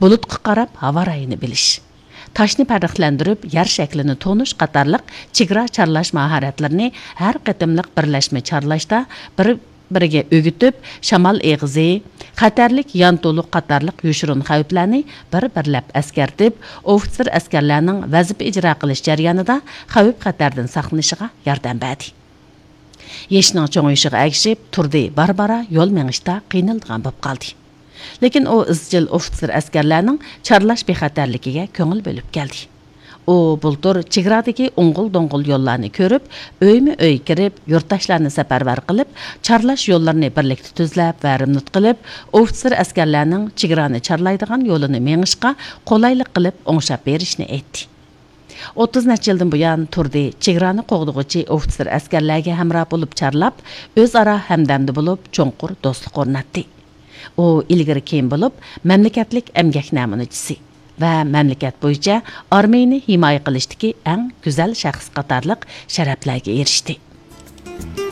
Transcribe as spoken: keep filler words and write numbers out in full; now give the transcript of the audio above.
بۇلۇتقا قاراپ ھاۋا رايىنى بىلىش، تاشنى پەرقلەندۈرۈپ يەر شەكلىنى تونۇش قاتارلىق چېگرا چارلاش ماھارەتلىرىنى ھەر قېتىملىق بىرلەشمە چارلاشتا بىر بىرىگە ئۆگىتىپ، شامال ئېغىزى، خەتەرلىك يانتۇلۇق قاتارلىق يوشۇرۇن خەۋپلەرنى بىر بىرلەپ ئەسكەرتىپ، ئوفىتسېر ئەسكەرلەرنىڭ ۋەزىپە ئىجرا قىلىش جەريانىدا خەۋپ خەتەردىن ساقلىنىشىغا ياردەم بەردى. يېشىنىڭ چوڭىيىشىغا ئەگىشىپ، تۇردى بارا-بارا يول مېڭىشتا قىينىلىدىغان بولۇپ قالدى. لېكىن ئۇ ئىزچىل ئوفىتسېر ئەسكەرلەرنىڭ چارلاش بىخەتەرلىكىگە كۆڭۈل بۆلۈپ كەلدى. ئۇ بۇلتۇر چېگرادىكى ئوڭغۇل-دوڭغۇل يوللارنى كۆرۈپ، ئۆيمۇ ئۆي كىرىپ، يۇرتداشلارنى سەپەرۋەر قىلىپ، چارلاش يوللىرىنى بىرلىكتە تۈزلەپ ۋە رېمونت قىلىپ، ئوفىتسېر ئەسكەرلەرنىڭ چېگرانى چارلايدىغان يولىنى مېڭىشقا قولايلىق قىلىپ ئوڭشاپ بېرىشنى ئېيتتى. ئوتتۇز نەچچە يىلدىن بۇيان تۇردى چېگرانى قوغدىغۇچى ئوفىتسېر ئەسكەرلەرگە ھەمراھ بولۇپ چارلاپ، ئۆزئارا ھەمدەمدە بولۇپ چوڭقۇر دوستلۇق ئورناتتى. ئۇ ئىلگىرى كېيىن بولۇپ مەملىكەتلىك ئەمگەك نەمۇنىچىسى ۋە مەملىكەت بويىچە ئارمىيىنى ھىمايە قىلىشتىكى ئەڭ گۈزەل شەخس قاتارلىق شەرەپلەرگە ئېرىشتى.